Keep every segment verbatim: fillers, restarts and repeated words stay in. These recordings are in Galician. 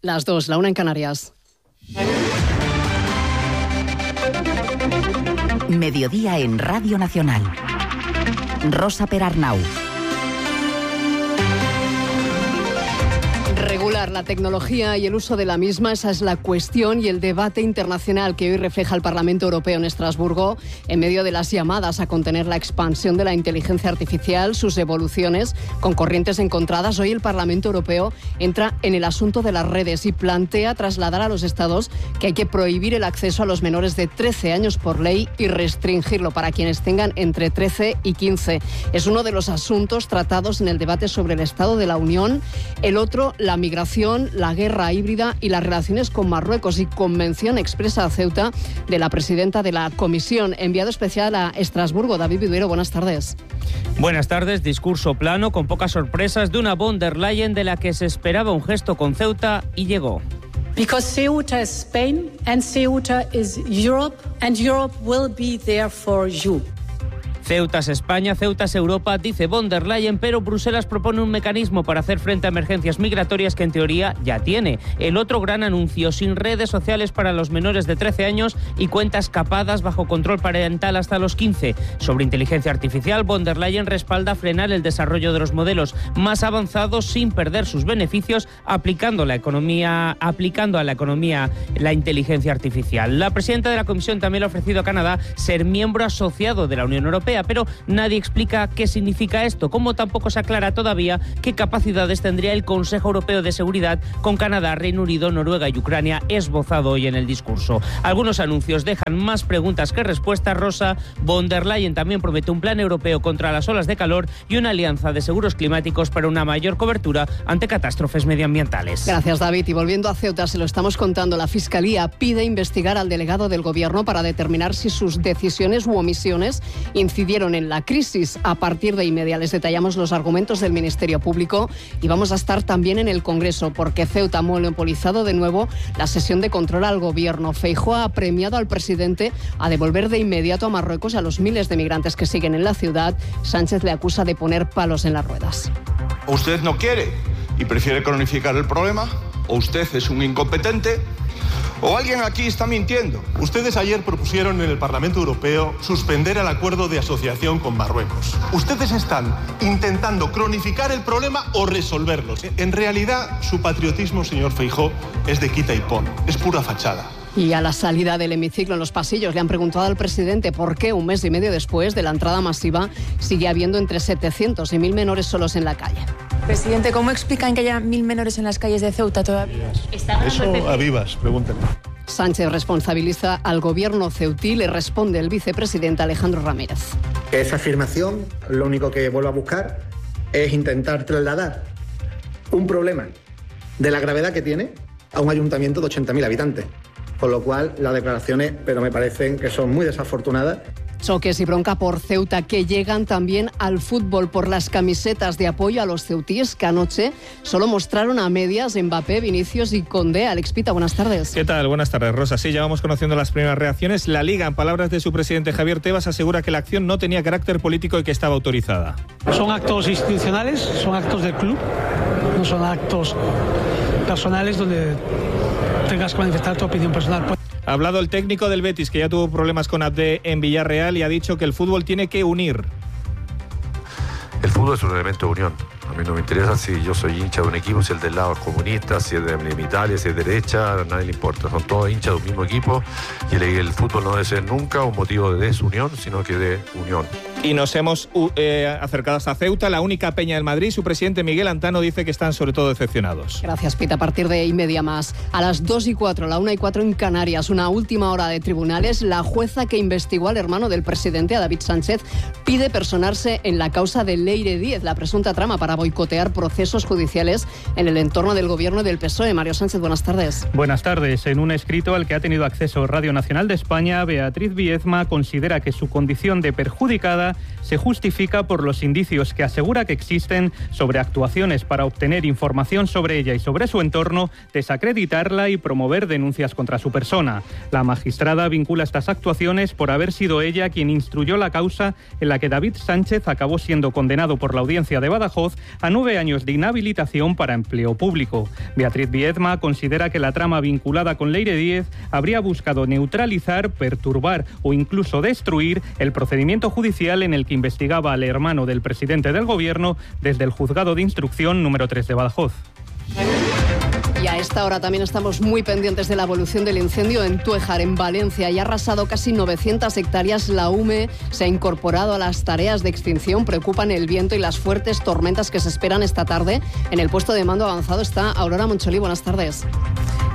Las dos, la una en Canarias. Mediodía en Radio Nacional. Rosa Perarnau. Regular la tecnología y el uso de la misma, esa es la cuestión y el debate internacional que hoy refleja el Parlamento Europeo en Estrasburgo en medio de las llamadas a contener la expansión de la inteligencia artificial, sus evoluciones con corrientes encontradas. Hoy el Parlamento Europeo entra en el asunto de las redes y plantea trasladar a los Estados que hay que prohibir el acceso a los menores de trece años por ley y restringirlo para quienes tengan entre trece y quince. Es uno de los asuntos tratados en el debate sobre el Estado de la Unión. El otro, la migración, la guerra híbrida y las relaciones con Marruecos, y convención expresa a Ceuta de la presidenta de la Comisión. Enviado especial a Estrasburgo, David Viduero, buenas tardes. Buenas tardes. Discurso plano, con pocas sorpresas, de una von der Leyen de la que se esperaba un gesto con Ceuta y llegó. Because Ceuta is Spain and Ceuta is Europe and Europe will be there for you. Ceuta es España, Ceuta es Europa, dice von der Leyen, pero Bruselas propone un mecanismo para hacer frente a emergencias migratorias que en teoría ya tiene. El otro gran anuncio, sin redes sociales para los menores de trece años y cuentas capadas bajo control parental hasta los quince. Sobre inteligencia artificial, von der Leyen respalda frenar el desarrollo de los modelos más avanzados sin perder sus beneficios, aplicando la economía, aplicando a la economía la inteligencia artificial. La presidenta de la Comisión también le ha ofrecido a Canadá ser miembro asociado de la Unión Europea, pero nadie explica qué significa esto, como tampoco se aclara todavía qué capacidades tendría el Consejo Europeo de Seguridad con Canadá, Reino Unido, Noruega y Ucrania, esbozado hoy en el discurso. Algunos anuncios dejan más preguntas que respuestas. Rosa, von der Leyen también promete un plan europeo contra las olas de calor y una alianza de seguros climáticos para una mayor cobertura ante catástrofes medioambientales. Gracias, David. Y volviendo a Ceuta, se lo estamos contando, la Fiscalía pide investigar al delegado del Gobierno para determinar si sus decisiones u omisiones incidieron en la crisis. A partir de inmediato les detallamos los argumentos del Ministerio Público y vamos a estar también en el Congreso porque Ceuta ha monopolizado de nuevo la sesión de control al Gobierno. Feijóo ha premiado al presidente a devolver de inmediato a Marruecos a los miles de migrantes que siguen en la ciudad. Sánchez le acusa de poner palos en las ruedas. O usted no quiere y prefiere cronificar el problema, o usted es un incompetente, ¿o alguien aquí está mintiendo? Ustedes ayer propusieron en el Parlamento Europeo suspender el acuerdo de asociación con Marruecos. Ustedes están intentando cronificar el problema o resolverlo. En realidad, su patriotismo, señor Feijóo, es de quita y pon. Es pura fachada. Y a la salida del hemiciclo en los pasillos le han preguntado al presidente por qué un mes y medio después de la entrada masiva sigue habiendo entre setecientos y mil menores solos en la calle. Presidente, ¿cómo explican que haya mil menores en las calles de Ceuta todavía? Eso a vivas, pregúntenme. Sánchez responsabiliza al gobierno ceutí, le responde el vicepresidente Alejandro Ramírez. Esa afirmación lo único que vuelve a buscar es intentar trasladar un problema de la gravedad que tiene a un ayuntamiento de ochenta mil habitantes. Con lo cual, las declaraciones, pero me parecen que son muy desafortunadas. Choques y bronca por Ceuta que llegan también al fútbol por las camisetas de apoyo a los ceutíes que anoche solo mostraron a medias Mbappé, Vinicius y Condé. Alex Pita, buenas tardes. ¿Qué tal? Buenas tardes, Rosa. Sí, ya vamos conociendo las primeras reacciones. La Liga, en palabras de su presidente Javier Tebas, asegura que la acción no tenía carácter político y que estaba autorizada. Son actos institucionales, son actos del club, no son actos personales donde tengas que manifestar tu opinión personal. Ha hablado el técnico del Betis, que ya tuvo problemas con Abde en Villarreal, y ha dicho que el fútbol tiene que unir. El fútbol es un elemento de unión. A mí no me interesa si yo soy hincha de un equipo, si el del lado es comunista, si es de Italia, si es derecha, a nadie le importa. Son todos hinchas de un mismo equipo y el, el fútbol no debe ser nunca un motivo de desunión, sino que de unión. Y nos hemos eh, acercado hasta Ceuta, la única peña del Madrid. Su presidente Miguel Antano dice que están sobre todo decepcionados. Gracias, Pita. A partir de y media más. A las dos y cuatro, la una y cuatro en Canarias, una última hora de tribunales. La jueza que investigó al hermano del presidente, a David Sánchez, pide personarse en la causa de Leire Díez, la presunta trama para boicotear procesos judiciales en el entorno del gobierno del P S O E. Mario Sánchez, buenas tardes. Buenas tardes. En un escrito al que ha tenido acceso Radio Nacional de España, Beatriz Viezma considera que su condición de perjudicada Valencia se justifica por los indicios que asegura que existen sobre actuaciones para obtener información sobre ella y sobre su entorno, desacreditarla y promover denuncias contra su persona. La magistrada vincula estas actuaciones por haber sido ella quien instruyó la causa en la que David Sánchez acabó siendo condenado por la Audiencia de Badajoz a nueve años de inhabilitación para empleo público. Beatriz Viedma considera que la trama vinculada con Leire Díez habría buscado neutralizar, perturbar o incluso destruir el procedimiento judicial en el que investigaba al hermano del presidente del Gobierno desde el Juzgado de Instrucción número tres de Badajoz. Y a esta hora también estamos muy pendientes de la evolución del incendio en Túejar, en Valencia. Y ha arrasado casi novecientas hectáreas. La U M E se ha incorporado a las tareas de extinción. Preocupan el viento y las fuertes tormentas que se esperan esta tarde. En el puesto de mando avanzado está Aurora Moncholí. Buenas tardes.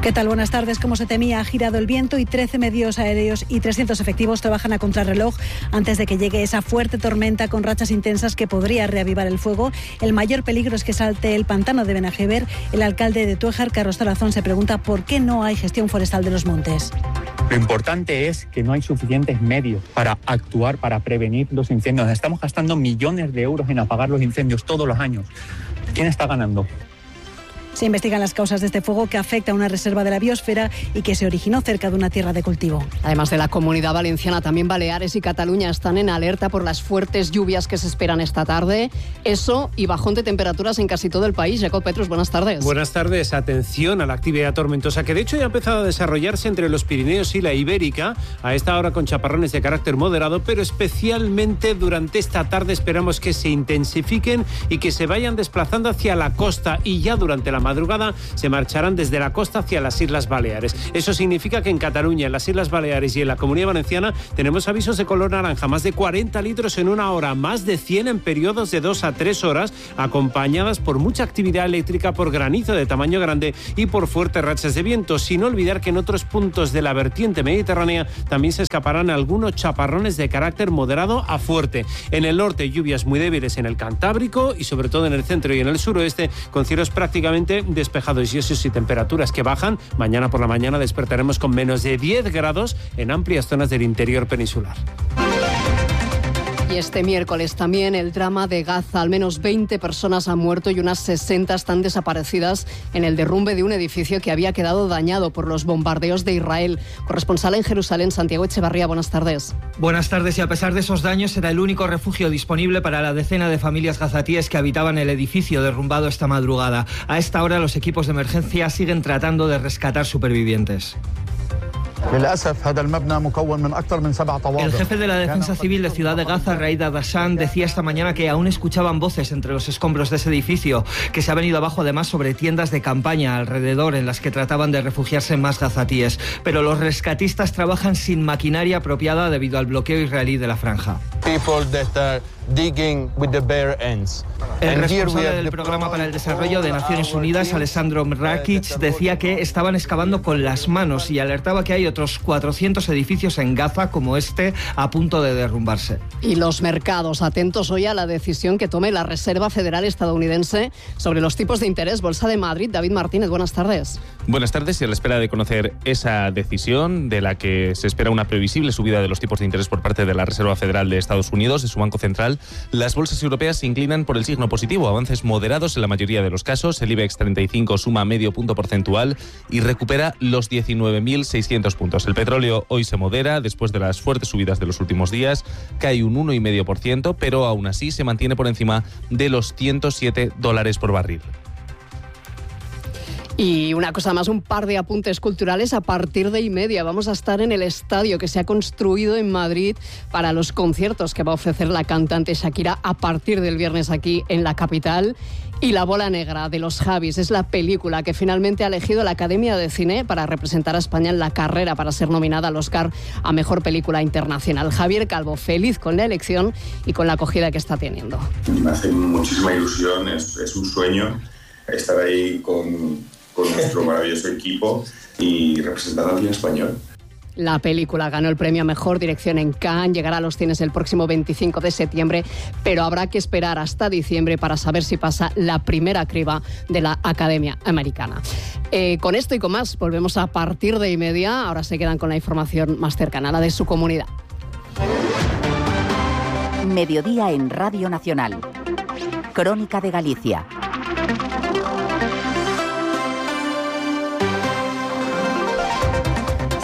¿Qué tal? Buenas tardes. Como se temía, ha girado el viento y trece medios aéreos y trescientos efectivos trabajan a contrarreloj antes de que llegue esa fuerte tormenta con rachas intensas que podría reavivar el fuego. El mayor peligro es que salte el pantano de Benajever. El alcalde de Túejar, Carlos Tarazón, se pregunta por qué no hay gestión forestal de los montes. Lo importante es que no hay suficientes medios para actuar, para prevenir los incendios. Estamos gastando millones de euros en apagar los incendios todos los años. ¿Quién está ganando? Se investigan las causas de este fuego que afecta a una reserva de la biosfera y que se originó cerca de una tierra de cultivo. Además de la Comunidad Valenciana, también Baleares y Cataluña están en alerta por las fuertes lluvias que se esperan esta tarde. Eso y bajón de temperaturas en casi todo el país. Jacob Petrus, buenas tardes. Buenas tardes. Atención a la actividad tormentosa que de hecho ya ha empezado a desarrollarse entre los Pirineos y la Ibérica. A esta hora con chaparrones de carácter moderado, pero especialmente durante esta tarde esperamos que se intensifiquen y que se vayan desplazando hacia la costa, y ya durante la madrugada se marcharán desde la costa hacia las Islas Baleares. Eso significa que en Cataluña, en las Islas Baleares y en la Comunidad Valenciana tenemos avisos de color naranja, más de cuarenta litros en una hora, más de cien en periodos de dos a tres horas, acompañadas por mucha actividad eléctrica, por granizo de tamaño grande y por fuertes rachas de viento, sin olvidar que en otros puntos de la vertiente mediterránea también se escaparán algunos chaparrones de carácter moderado a fuerte. En el norte, lluvias muy débiles en el Cantábrico y sobre todo en el centro y en el suroeste, con cielos prácticamente despejados y eso sí, temperaturas que bajan. Mañana por la mañana despertaremos con menos de diez grados en amplias zonas del interior peninsular. Y este miércoles también el drama de Gaza. Al menos veinte personas han muerto y unas sesenta están desaparecidas en el derrumbe de un edificio que había quedado dañado por los bombardeos de Israel. Corresponsal en Jerusalén, Santiago Echevarría, buenas tardes. Buenas tardes. Y a pesar de esos daños, era el único refugio disponible para la decena de familias gazatíes que habitaban el edificio derrumbado esta madrugada. A esta hora los equipos de emergencia siguen tratando de rescatar supervivientes. El jefe de la Defensa Civil de Ciudad de Gaza, Raid Adashan, decía esta mañana que aún escuchaban voces entre los escombros de ese edificio, que se ha venido abajo además sobre tiendas de campaña alrededor en las que trataban de refugiarse más gazatíes. Pero los rescatistas trabajan sin maquinaria apropiada debido al bloqueo israelí de la franja. El responsable del Programa para el Desarrollo de Naciones Unidas, Alessandro Mrakic, decía que estaban excavando con las manos y alertaba que hay otros cuatrocientos edificios en Gaza como este a punto de derrumbarse. Y los mercados, atentos hoy a la decisión que tome la Reserva Federal estadounidense sobre los tipos de interés. Bolsa de Madrid, David Martínez, buenas tardes. Buenas tardes, y a la espera de conocer esa decisión de la que se espera una previsible subida de los tipos de interés por parte de la Reserva Federal de Estados Unidos, de su Banco Central, las bolsas europeas se inclinan por el signo positivo, avances moderados en la mayoría de los casos. El IBEX treinta y cinco suma medio punto porcentual y recupera los diecinueve mil seiscientos puntos. El petróleo hoy se modera después de las fuertes subidas de los últimos días, cae un uno coma cinco por ciento, pero aún así se mantiene por encima de los ciento siete dólares por barril. Y una cosa más, un par de apuntes culturales. A partir de y media vamos a estar en el estadio que se ha construido en Madrid para los conciertos que va a ofrecer la cantante Shakira a partir del viernes aquí en la capital. Y La bola negra de los Javis es la película que finalmente ha elegido la Academia de Cine para representar a España en la carrera para ser nominada al Oscar a Mejor Película Internacional. Javier Calvo, feliz con la elección y con la acogida que está teniendo. Me hace muchísima ilusión, es, es un sueño estar ahí con, con nuestro maravilloso equipo y representando al cine español. La película ganó el premio a Mejor Dirección en Cannes, llegará a los cines el próximo veinticinco de septiembre, pero habrá que esperar hasta diciembre para saber si pasa la primera criba de la Academia Americana. Eh, con esto y con más, volvemos a partir de y media. Ahora se quedan con la información más cercana, la de su comunidad. Mediodía en Radio Nacional. Crónica de Galicia.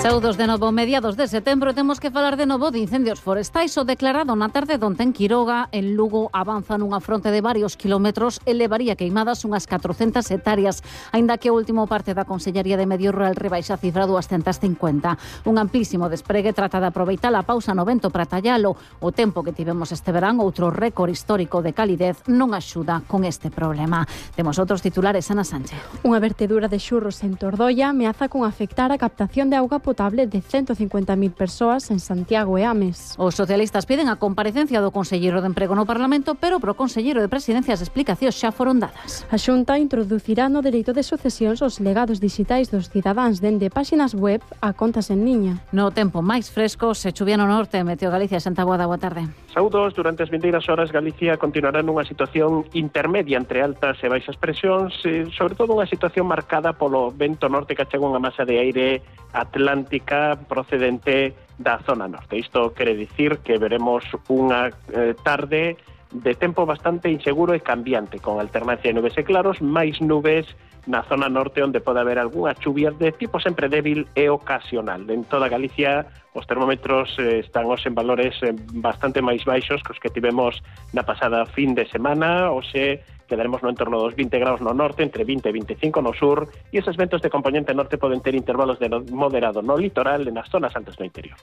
Saúdos de novo, mediados de setembro, temos que falar de novo de incendios forestais. O declarado na tarde de onte en Quiroga, en Lugo, avanza nunha fronte de varios kilómetros e levaría queimadas unhas catrocentas hectáreas, aínda que o último parte da Consellería de Medio Rural rebaixa a cifra duascentas cincuenta. Un amplísimo despregue trata de aproveitar a pausa no vento para tallalo. O tempo que tivemos este verán, outro récord histórico de calidez, non axuda con este problema. Temos outros titulares, Ana Sánchez. Unha vertedura de xurros en Tordoia ameaza con afectar a captación de auga potable de ciento cincuenta mil persoas en Santiago e Ames. Os socialistas piden a comparecencia do conselleiro de Emprego no Parlamento, pero pro conselleiro de Presidencia as explicacións xa foron dadas. A Xunta introducirá no dereito de sucesións os legados digitais dos cidadáns dende páxinas web a contas en liña. No tempo máis fresco, se chuvía no norte, Meteo Galicia, Santa Boada, boa tarde. Saúdos, durante as vindeiras horas Galicia continuará nunha situación intermedia entre altas e baixas presións, sobre todo unha situación marcada polo vento norte que achega unha masa de aire atlántica procedente da zona norte. Isto quere dicir que veremos unha eh, tarde de tempo bastante inseguro e cambiante, con alternancia de nubes e claros, máis nubes na zona norte onde pode haber algunha chuvia de tipo sempre débil e ocasional. En toda Galicia os termómetros eh, están os en valores eh, bastante máis baixos que os que tivemos na pasada fin de semana, hoxe quedaremos no entorno dos vinte graus no norte, entre vinte e veinticinco no sur, e esos ventos de componente norte poden ter intervalos de moderado no litoral e nas zonas altas do interior.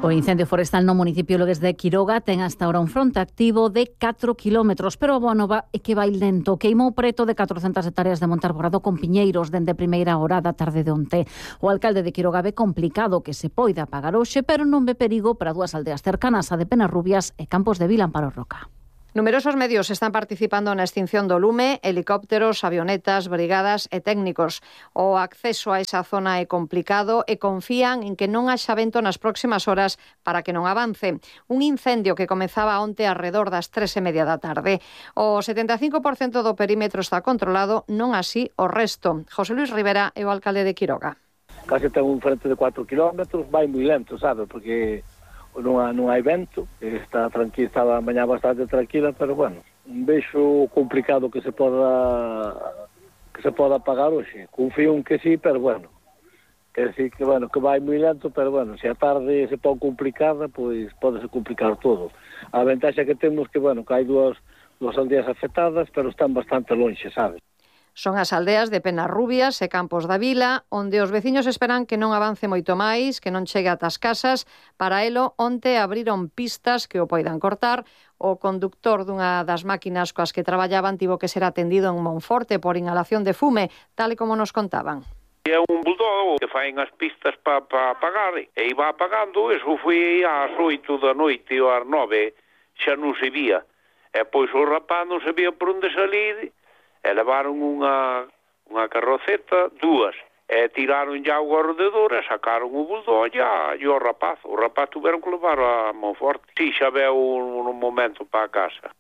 O incendio forestal no municipio Logues de Quiroga ten hasta ahora un fronte activo de catro kilómetros, pero a boa nova é que vai lento. Queimou preto de catrocentas hectáreas de monte arborado con piñeiros dende primeira hora da tarde de onte. O alcalde de Quiroga ve complicado que se poida apagar hoxe, pero non ve perigo para dúas aldeas cercanas, a de Penarrubias e Campos de Vila, Amparo Roca. Numerosos medios están participando na extinción do lume, helicópteros, avionetas, brigadas e técnicos. O acceso a esa zona é complicado e confían en que non haxa vento nas próximas horas para que non avance. Un incendio que comezaba onte alrededor das tres e media da tarde. O setenta e cinco por cento do perímetro está controlado, non así o resto. José Luis Rivera é o alcalde de Quiroga. Casi ten un frente de cuatro kilómetros, vai moi lento, sabe, porque non, ha, non hai vento, está tranquila, estaba a mañá bastante tranquila, pero bueno, un vexo complicado que se poda que se poda apagar hoxe. Confío en que sí, pero bueno, quer decir que bueno, que vai moi lento, pero bueno, se a tarde se pon complicada, pois pode se complicar todo. A ventaxa que temos que bueno, que hai dúas dúas aldeas afectadas, pero están bastante lonxe, sabes? Son as aldeas de Penarrubias e Campos da Vila, onde os veciños esperan que non avance moito máis, que non chegue ata as casas. Para elo, onte abriron pistas que o poidan cortar. O conductor dunha das máquinas coas que traballaban tivo que ser atendido en Monforte por inhalación de fume, tal e como nos contaban. É un bulldog que faen as pistas para pa apagar, e iba apagando, eso foi ás oito da noite ou ás nove, xa non se vía. E pois o rapaz non sabía por onde salir, e levaron unha, unha carroceta, dúas, e tiraron ya o alrededor e sacaron o bulldog e o rapaz. O rapaz tuveron que levar a Monforte. Si, xa veu un, un momento para a casa.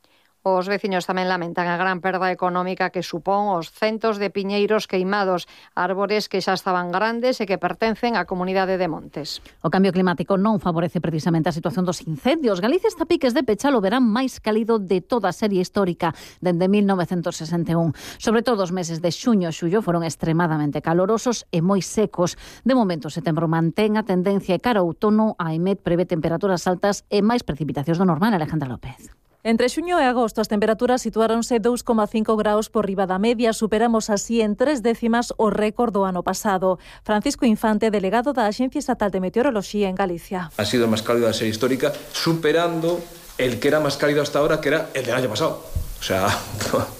Os veciños tamén lamentan a gran perda económica que supón os centos de piñeiros queimados, árbores que xa estaban grandes e que pertencen á comunidade de Montes. O cambio climático non favorece precisamente a situación dos incendios. Galicia está a piques de pechar o verán máis cálido de toda a serie histórica dende mil novecentos sesenta e un. Sobre todo os meses de xuño e xullo foron extremadamente calorosos e moi secos. De momento, setembro mantén a tendencia e cara ao outono, a E M E T prevé temperaturas altas e máis precipitacións do normal. Alejandra López. Entre xuño e agosto as temperaturas situáronse dous coma cinco graus por riba da media, superamos así en tres décimas o récord do ano pasado. Francisco Infante, delegado da Axencia Estatal de Meteoroloxía en Galicia. Ha sido el más cálido de la serie histórica, superando el que era más cálido hasta ahora, que era el del año pasado. O sea,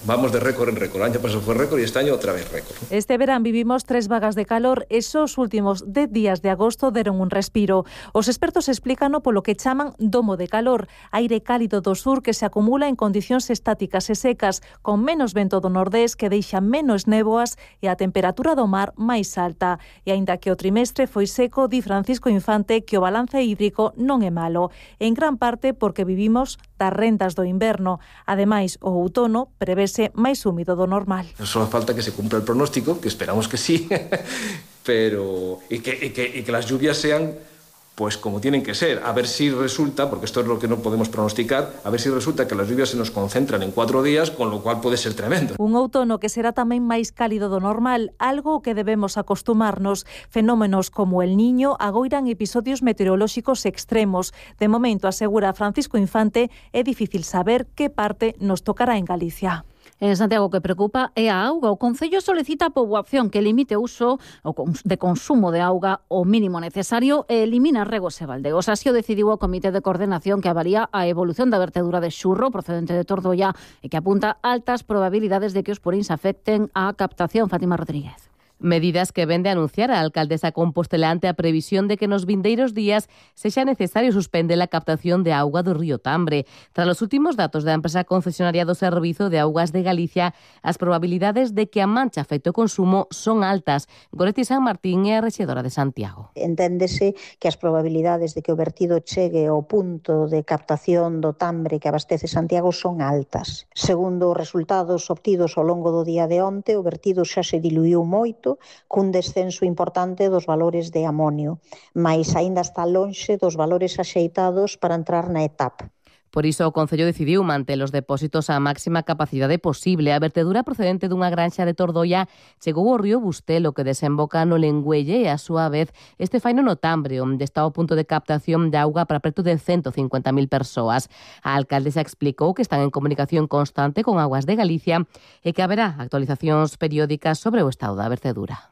vamos de récord en récord. El año pasado fue récord y este año otra vez récord. Este verán vivimos tres vagas de calor. Esos últimos dez días de agosto deron un respiro. Os expertos explícano polo que chaman domo de calor, aire cálido do sur que se acumula en condicións estáticas e secas, con menos vento do nordés que deixa menos néboas e a temperatura do mar máis alta. E aínda que o trimestre foi seco, di Francisco Infante que o balance hídrico non é malo, en gran parte porque vivimos das rendas do inverno. Ademais, o outono prevese máis húmido do normal. Só falta que se cumpla el pronóstico, que esperamos que sí, pero y que, y que, y que las lluvias sean pues como tienen que ser, a ver si resulta, porque esto es lo que no podemos pronosticar, a ver si resulta que las lluvias se nos concentran en cuatro días, con lo cual puede ser tremendo. Un outono que será tamén máis cálido do normal, algo que debemos acostumarnos. Fenómenos como el Niño agoiran episodios meteorolóxicos extremos. De momento, asegura Francisco Infante, é difícil saber que parte nos tocará en Galicia. En Santiago, o que preocupa é a auga. O Concello solicita a poboación que limite o uso de consumo de auga o mínimo necesario e elimina regos e baldeos. Así o decidiu o Comité de Coordenación que avalía a evolución da vertedura de Xurro procedente de Tordoia e que apunta altas probabilidades de que os puríns afecten á captación. Fátima Rodríguez. Medidas que vende anunciar a alcaldesa compostelá ante a previsión de que nos vindeiros días sexa necesario suspender a captación de auga do río Tambre. Tras os últimos datos da empresa concesionaria do Servizo de Augas de Galicia, as probabilidades de que a mancha afecte o consumo son altas. Goretti San Martín é a rexedora de Santiago. Enténdese que as probabilidades de que o vertido chegue ao punto de captación do Tambre que abastece Santiago son altas. Segundo os resultados obtidos ao longo do día de onte, o vertido xa se diluiu moito, cun descenso importante dos valores de amonio, mais aínda está lonxe dos valores axeitados para entrar na etapa. Por iso, o Concello decidiu manter os depósitos á máxima capacidade posible. A vertedura procedente dunha granxa de Tordoia chegou ao río Bustelo, que desemboca no Lengüelle, e a súa vez este faino no Tambre, onde está o punto de captación de auga para preto de ciento cincuenta mil persoas. A alcaldesa explicou que están en comunicación constante con Augas de Galicia e que haberá actualizacións periódicas sobre o estado da vertedura.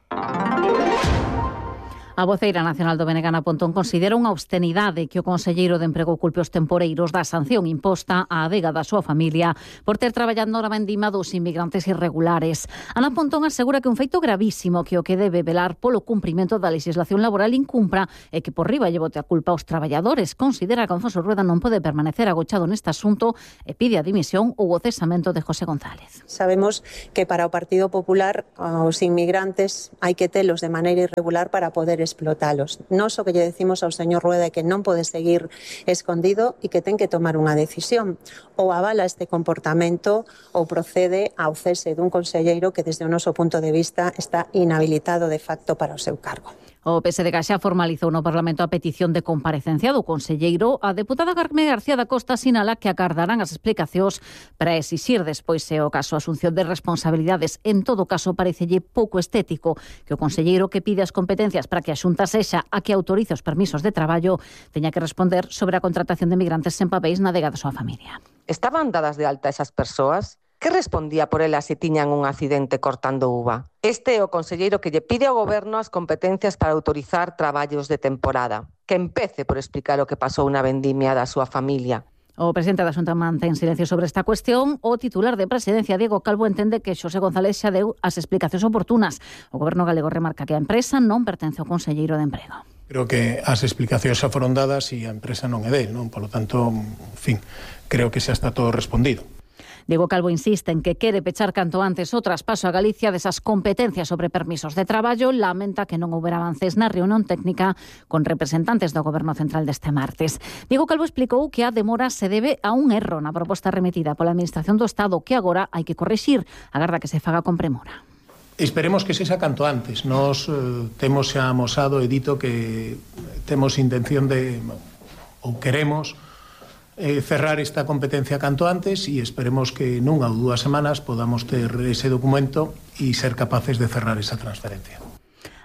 A voceira nacional do B N G, Ana Pontón, considera unha obscenidade que o conselleiro de Emprego culpe os temporeiros da sanción imposta á adega da súa familia por ter traballado na vendima dos inmigrantes irregulares. Ana Pontón asegura que un feito gravísimo que o que debe velar polo cumprimento da legislación laboral incumpra e que por riba lle bote a culpa aos traballadores. Considera que Alfonso Rueda non pode permanecer agochado neste asunto e pide a dimisión ou o cesamento de José González. Sabemos que para o Partido Popular os inmigrantes hai que telos de maneira irregular para poder explotalos. Nos o que lle decimos ao señor Rueda é que non pode seguir escondido e que ten que tomar unha decisión. Ou avala este comportamento ou procede ao cese dun conselleiro que desde o noso punto de vista está inhabilitado de facto para o seu cargo. O P S D G xa formalizou no Parlamento a petición de comparecencia do conselleiro. A deputada Carmen García da Costa sinala que agardarán as explicacións para exixir despois se o caso a asunción de responsabilidades. En todo caso, parecelle pouco estético que o conselleiro que pide as competencias para que a Xunta sexa a que autorice os permisos de traballo teña que responder sobre a contratación de migrantes sen papéis na adega da súa familia. Estaban dadas de alta esas persoas? Que respondía por elas se tiñan un accidente cortando uva? Este é o conselleiro que lle pide ao goberno as competencias para autorizar traballos de temporada. Que empece por explicar o que pasou na vendimia da súa familia. O presidente da Xunta mantén silencio sobre esta cuestión. O titular de Presidencia, Diego Calvo, entende que Xosé González xa deu as explicacións oportunas. O goberno galego remarca que a empresa non pertence ao conselleiro de Emprego. Creo que as explicacións xa foron dadas e a empresa non é del, non? Por lo tanto, en fin, creo que xa está todo respondido. Diego Calvo insiste en que quere pechar canto antes o traspaso a Galicia desas competencias sobre permisos de traballo. Lamenta que non houbera avances na reunión técnica con representantes do Goberno Central deste martes. Diego Calvo explicou que a demora se debe a un erro na proposta remitida pola Administración do Estado que agora hai que corrixir. Agarda que se faga con premura. Esperemos que sexa canto antes. Nos eh, temos xa amosado e dito que temos intención de, ou queremos, Eh, cerrar esta competencia canto antes e esperemos que nunha ou dúas semanas podamos ter ese documento e ser capaces de cerrar esa transferencia.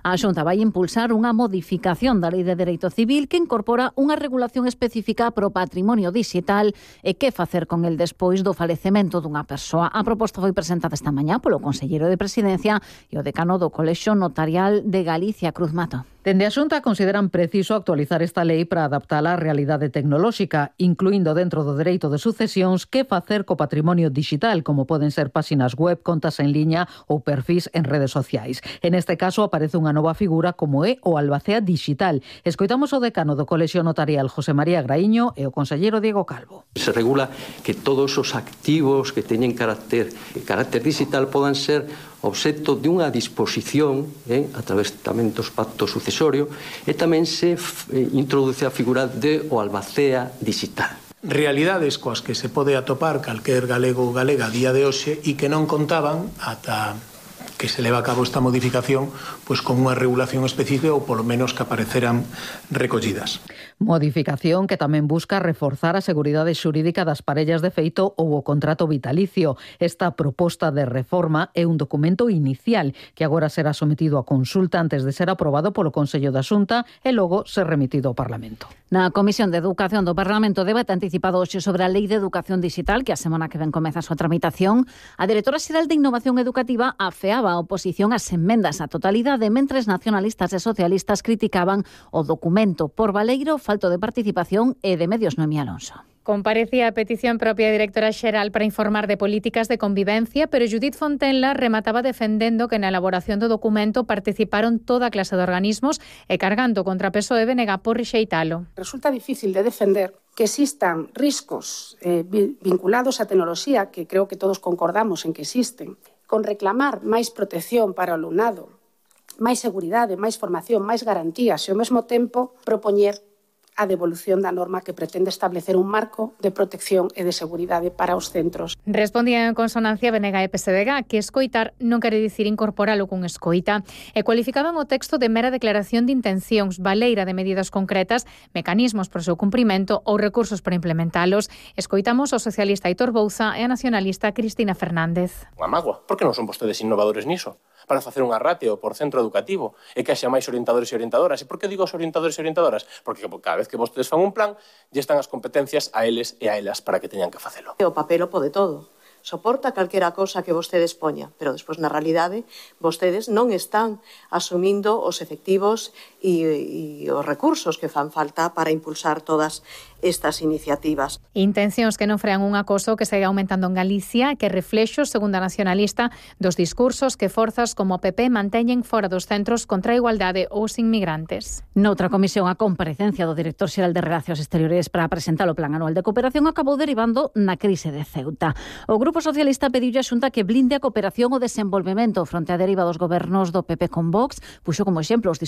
A Xunta vai impulsar unha modificación da Lei de Dereito Civil que incorpora unha regulación específica pro patrimonio digital e que facer con el despois do falecemento dunha persoa. A proposta foi presentada esta mañá polo conselleiro de Presidencia e o decano do Colexio Notarial de Galicia, Cruz Mato. Dende a Xunta consideran preciso actualizar esta lei para adaptala á realidade tecnolóxica, incluindo dentro do dereito de sucesións que facer co patrimonio digital, como poden ser páxinas web, contas en liña ou perfís en redes sociais. En este caso aparece unha nova figura como é o albacea digital. Escoitamos o decano do Colexio Notarial, José María Graíño, e o conselleiro Diego Calvo. Se regula que todos os activos que teñen carácter, carácter digital podan ser obxecto de unha disposición eh, a través tamén dos pactos sucesorio e tamén se eh, introduce a figura de o albacea digital. Realidades coas que se pode atopar calquer galego ou galega a día de hoxe e que non contaban ata que se leva a cabo esta modificación pois con unha regulación específica ou polo menos que apareceran recollidas. Modificación que tamén busca reforzar a seguridade xurídica das parellas de feito ou o contrato vitalicio. Esta proposta de reforma é un documento inicial que agora será sometido a consulta antes de ser aprobado polo Consello da Xunta e logo ser remitido ao Parlamento. Na Comisión de Educación do Parlamento debate anticipado hoxe sobre a Lei de Educación Digital, que a semana que ven comeza a súa tramitación. A directora xeral de Innovación Educativa afeaba a oposición ás emendas á totalidade, mentres nacionalistas e socialistas criticaban o documento por baleiro, falto de participación e de medios. Noemí Alonso. Comparecía a petición propia directora xeral para informar de políticas de convivencia, pero Judith Fontenla remataba defendendo que na elaboración do documento participaron toda clase de organismos e cargando contra P S O E B N G por rexeitalo. Resulta difícil de defender que existan riscos eh, vinculados á tecnoloxía, que creo que todos concordamos en que existen, con reclamar máis protección para o alumnado, máis seguridade, máis formación, máis garantías e ao mesmo tempo propoñer a devolución da norma que pretende establecer un marco de protección e de seguridade para os centros. Respondía en consonancia B N G e P S D G que escoitar non quere dicir incorporalo con escoita e cualificaban o texto de mera declaración de intencións, baleira de medidas concretas, mecanismos para o seu cumprimento ou recursos para implementalos. Escoitamos o socialista Aitor Bouza e a nacionalista Cristina Fernández. Unha mágoa, por que non son vostedes innovadores niso? Para facer unha ratio por centro educativo e que haxa máis orientadores e orientadoras. E por que digo os orientadores e orientadoras? Porque cada vez que vostedes fan un plan, lle están as competencias a eles e a elas para que teñan que facelo. O papel o pode todo. Soporta calquera cosa que vostedes poña, pero despois na realidade vostedes non están asumindo os efectivos e, e os recursos que fan falta para impulsar todas estas iniciativas. Intencións que non frean un acoso que segue aumentando en Galicia, que reflexos, segundo a nacionalista, dos discursos que forzas como o P P manteñen fora dos centros contra a igualdade ou os inmigrantes. Noutra comisión, a comparecencia do director xeral de Relacións Exteriores para presentar o Plan Anual de Cooperación acabou derivando na crise de Ceuta. O Grupo Socialista pediu a Xunta que blinde a cooperación o desenvolvemento fronte á deriva dos gobernos do P P con Vox, puxo como exemplo os